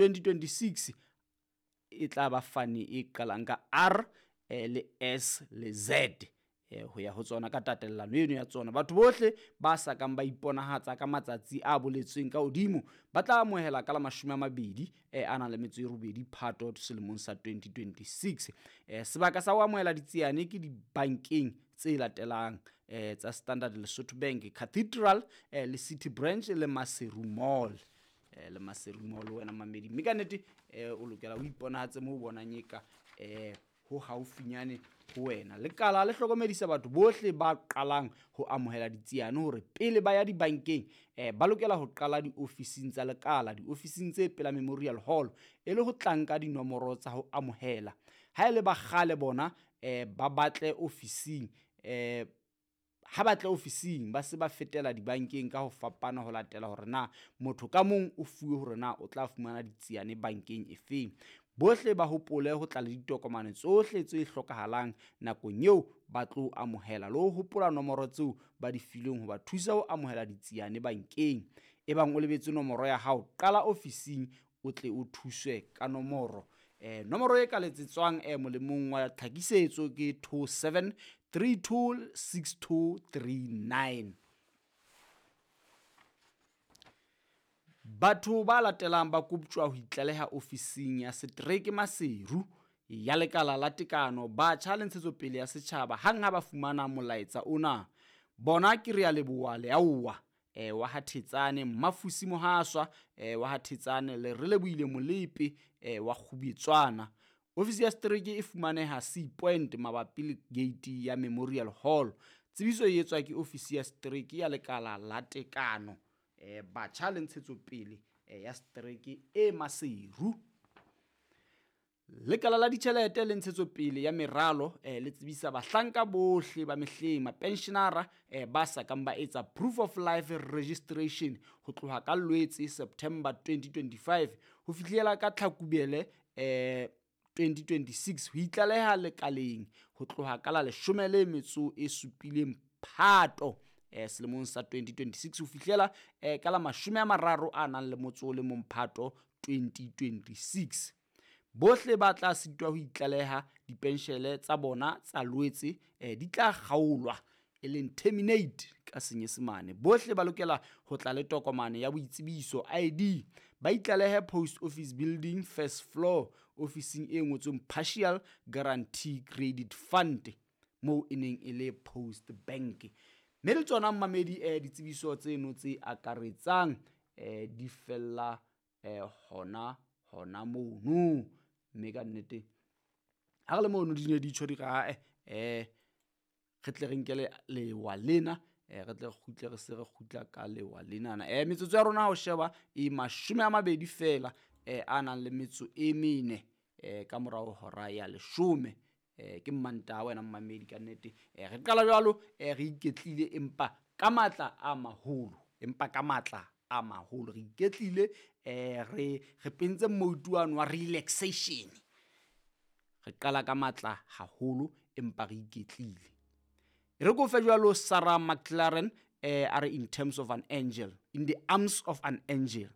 2026 e tla ba fane e qalang ka R le S le Z ho ya ho tsona ka tatellano eno ya tsona. Batho bohle ba sa kang ba iponahatsa ka matsatsi a boletsweng ka hodimo ba tla amohela ka la 28 a nang le metso e robedi Phato selemong sa 2026. Sebaka sa ho amohela ditsiane ke dibankeng tse latelang tsa Standard Lesotho Bank, Cathedral le City Branch le Maseru Mall. Le Maseru Mall wena mamedi, mme ka nnete o lokela o iponahatse moo o bonang eka ho haufinyane ho wena. Lekala le hlokomedisa batho bohle ba qalang ho amohela ditsiane hore pele ba ya dibankeng ba lokela ho qala diofising tsa lekala, diofising tse pela Memorial Hall, e le ho tla nka dinomoro tsa ho amohela. Ha e le ba kgale bona ba batle ofising ha ba tle ofising ba se ba fetela dibankeng ka ho fapana ho latela hore na motho ka mong o fuwe hore na o tla fumana ditsiane bankeng efeng. Bohle ba hopole ho tla le ditokomane tsohle tse hlokahalang nakong eo ba tlo amohela, le ho hopola nomoro tseo ba di filweng ho ba thusa ho amohela ditsiane bankeng. Ebang o lebetse nomoro ya hao, qala ofising o tle o thuswe ka nomoro. Nomoro e ka letsetswang molemong wa tlhakisetso ke 27 32 62 39. Batho ba latelang ba koptjwa ho itlaleha ofising ya setereke Maseru ya Lekala la Tekano, Batjha le Ntshetsopele ya Setjhaba hang ha ba fumana molaetsa ona. Bona ke Realeboha Leaoa wa ha Thetsane, Mmafusi Mohaswa wa ha Thetsane le Relebohile Molepe wa Kgubetswana. Ofisi ya setereke e fumaneha Sea Point mabapi le gate ya Memorial Hall. Tsebiso e etswa ke ofisi ya setereke ya Lekala la Tekano, Batjha le Ntshetsopele ya setereke e Maseru. Lekala la ditjhelete le ntshetsopele ya meralo le tsebisa bahlanka bohle ba mehleng, mapenshenara ba sa kang ba etsa proof of life registration ho tloha ka Lwetse September 2025 ho fihlela ka Tlhakubele 2026 ho itlaleha lekaleng ho tloha ka la 17 Phato selemong sa 2026 ho fihlela ka la 31 Phato 2026. Bohle ba tla sitwa ho itlaleha dipenshele tsa bona tsa Lwetse di tla kgaolwa, e leng terminate ka Senyesemane. Bohle ba lokela ho tla le tokomane ya boitsebiso ID, ba itlalehe Post Office Building first floor ofising e ngotsweng Partial Guarantee Credit Fund moo e neng e le Post Bank. Mme le tsona mmamedi ditsebiso tseno tse akaretsang di fella hona hona mono. Mme ka nnete ha re le mono di ne di tjho di re ae re tle re nke lewa lena, re tle re kgutle re se re kgutla ka lewa lenana. Metsotso ya rona ha o sheba e 20 feela a nang le metso e 4 ka morao hora ya 10. Ke Mmantaha wena mmamedi ka nnete. Re qala jwalo re iketlile empa ka matla a maholo, empa ka matla a maholo re iketlile, re pentse moutu wa relaxation. Re qala ka matla haholo empa re iketlile. Re ko fe jwalo Sarah McLaren a re in terms of an angel, in the arms of an angel.